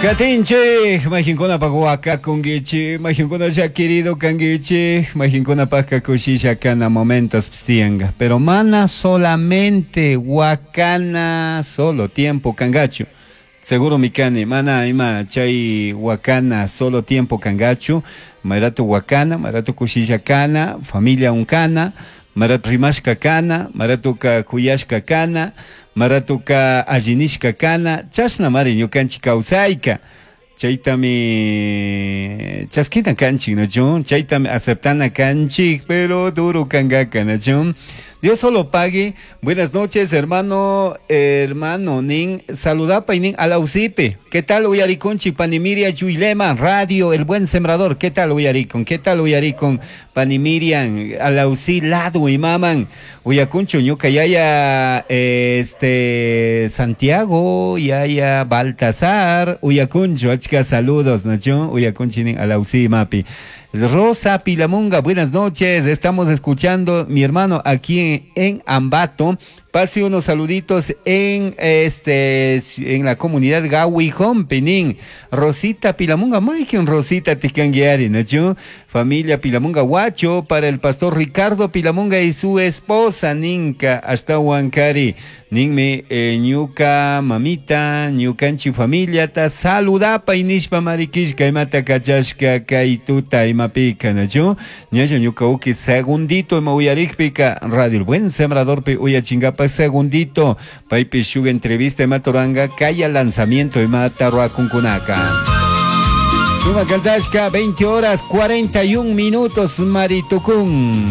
Katinchik, mayqinkunapaq wakakunkichik, mayqinkuna llakirido kankichik, mayqinkunapaqqa kushisha kana momentos tiyanqa. Pero mana solamente wakana solo tiempo kanqachu. Seguro mi kani, mana ima chay wakana solo tiempo kanqachu, mayratu wakana, mayratu kushisha kana, familia unkana, mayratu rimashka kana, mayratuka kuyashka kana, maratuka allinishka kana, chashna mari ñukanchik kawsayka. Chaytami chaskina kanchik, ¿no? Chaytami aceptana kanchik, pero duro kangaka, ¿no? Dios solo pague. Buenas noches, hermano, hermano, nin, saludapa y nin alausipe. ¿Qué tal, uyarikunchi, Panimiria Yuilema, Radio, El Buen Sembrador? ¿Qué tal, uyarikun? ¿Qué tal, uyarikun? Panimirian, alausi, ladu y maman. Uyakunchu, ñuka yaya, Santiago, yaya Baltasar, uyakunchu, achka saludos, ¿no? Uyakunchi nin alausi mapi. Rosa Pilamunga, buenas noches. Estamos escuchando mi hermano aquí en Ambato. Pase unos saluditos en en la comunidad Gawijón, Penín. Rosita Pilamunga, Maikin Rosita Ticanguiari, ¿no? Familia Pilamunga Huacho, para el pastor Ricardo Pilamunga y su esposa Ninka, hasta Huancari. Ninme ñuka mamita, ñukanchi familia ta saludapa inishpa marikishka imata kachashka kaituta imapika, ¿no? Ñayo ñuka uki segundito ima uyarikpika Radio El Buen Sembrador pe uyachingapa segundito paypi shuk entrevista imatoranga kaya lanzamiento imata ruakunkunaka. Suma kantashka 20 horas 41 minutos maritukun.